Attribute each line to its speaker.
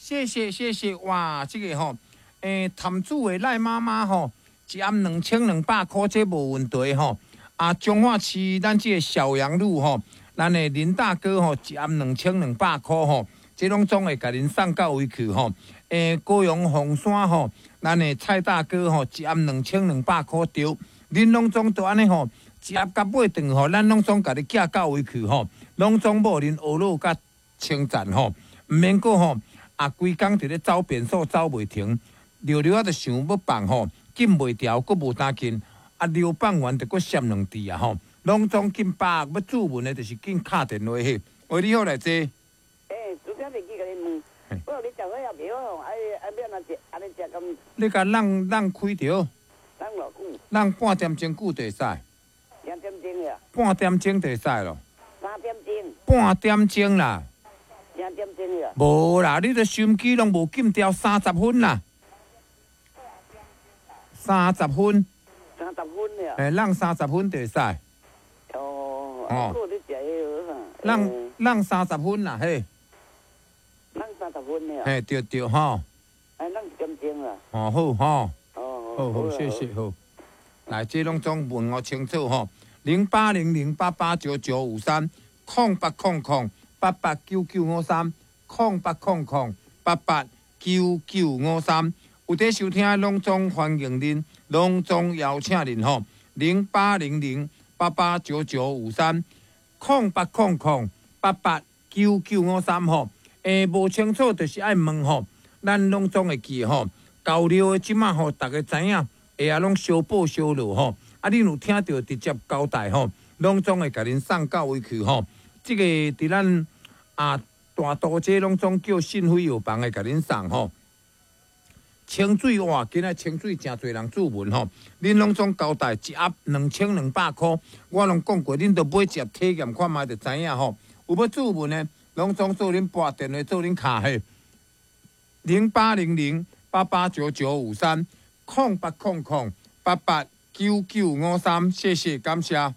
Speaker 1: 謝謝謝謝，哇，這個吼，潭子的賴媽媽吼，一盒2200箍，這無問題吼。啊，彰化市咱這個小楊路吼，咱的林大哥吼，一盒2200箍吼，這攏總會共恁送到位去吼。高雄鳳山吼，咱的蔡大哥吼，一盒2200箍對，恁攏總都按呢吼，一盒共買轉吼，咱攏總共你寄到位去吼，攏總無恁呵咾佮稱讚吼，毋免閣吼，啊，規工佇咧走便所走袂停，尿尿仔就想欲放吼，禁袂牢，閣無當禁，啊，尿放完就閣閃兩滴啊吼，攏總緊把欲注文的，就是緊敲電話去。喂，你好，來坐。
Speaker 2: 欸，拄才袂記共你問，我你食好也袂好，啊啊欲按怎食？按呢食敢？
Speaker 1: 你共挵挵開著。
Speaker 2: 挵偌久？
Speaker 1: 挵半點鐘久就會使。
Speaker 2: 兩點鐘呀？
Speaker 1: 半點鐘就會使咯。
Speaker 2: 3點鐘。
Speaker 1: 半點鐘啦。
Speaker 2: 2點鐘呀？
Speaker 1: 無啦，你的收音機攏無禁掉30分啦。三十分。
Speaker 2: 30分呀？
Speaker 1: 欸，挵三十分就會使。
Speaker 2: 哦。
Speaker 1: 哦。
Speaker 2: 你食彼個
Speaker 1: 挵挵三十分啦，嘿。
Speaker 2: 挵三十分呀？
Speaker 1: 嘿，對對吼。
Speaker 2: 哎，挵一點鐘啦。
Speaker 1: 哦，好吼。
Speaker 2: 哦。
Speaker 1: 好好，謝謝好。來，這攏總問我清楚吼，0800889953，0800889953，0800889953。有佇收聽，攏總歡迎恁，攏總邀請恁吼，0800889953，0800889953吼。無清楚就是愛問吼，咱攏總會記吼，交流的這馬吼，逐家知影。會啊，攏相報相落吼，啊，恁有聽著直接交代吼，攏總會共恁送到位去吼。這個佇咱啊大都這攏總叫信輝藥房會共恁送吼。清水哇，今仔清水誠濟人注文吼，恁攏總交代一盒2200箍，我攏講過，恁著買一盒體驗看覓就知影吼。有欲注文的，攏總做恁撥電話做恁敲彼，0800889953。0800889953，謝謝感謝。